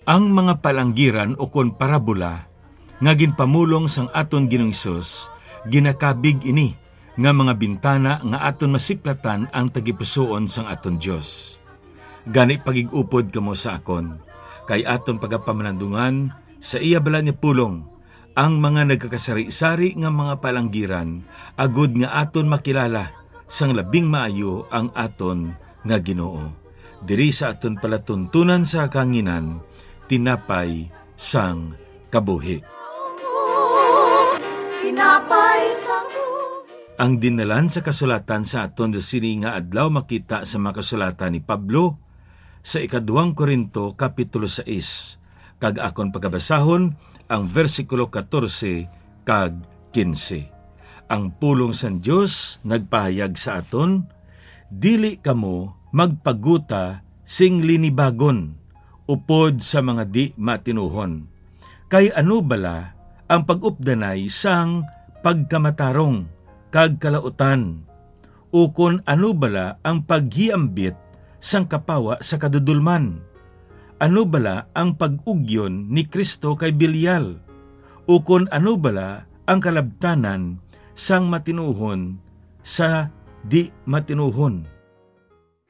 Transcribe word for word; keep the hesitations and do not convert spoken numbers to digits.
Ang mga palanggiran ukon parabola nga ginpamulong sang aton Ginoong Hesus, ginakabig ini nga mga bintana nga aton masiplatan ang tagipusoon sang aton Dios. Gani, pagig-upod kamo sa akon, kay aton pagapamanandungan sa iya balaan nga pulong ang mga nagakasari-sari nga mga palanggiran, agud nga aton makilala sang labing maayo ang aton nga Ginoo. Diri sa aton palatuntunan sa kahanginan, tinapay sang kabuhi. Tinapay sang buhi. Ang dinnalan sa kasulatan sa aton sa sini nga adlaw makita sa mga kasulatan ni Pablo sa ikaduhang Corinto, kapitulo sais, kag akon pagabasahon ang bersikulo katorse kag kinse. Ang pulong sang Dios nagpahayag sa aton, "Dili kamo magpaguta sing linibagon upod sa mga di matinuhon. Kay ano bala ang pag-updanay sang pagkamatarong kag kalautan? Ukon ano bala ang paghiambit sang kapawa sa kadudolman? Ano bala ang pag-ugyon ni Cristo kay Belial? Ukon ano bala ang kalabtanan sang matinuhon sa di matinuhon?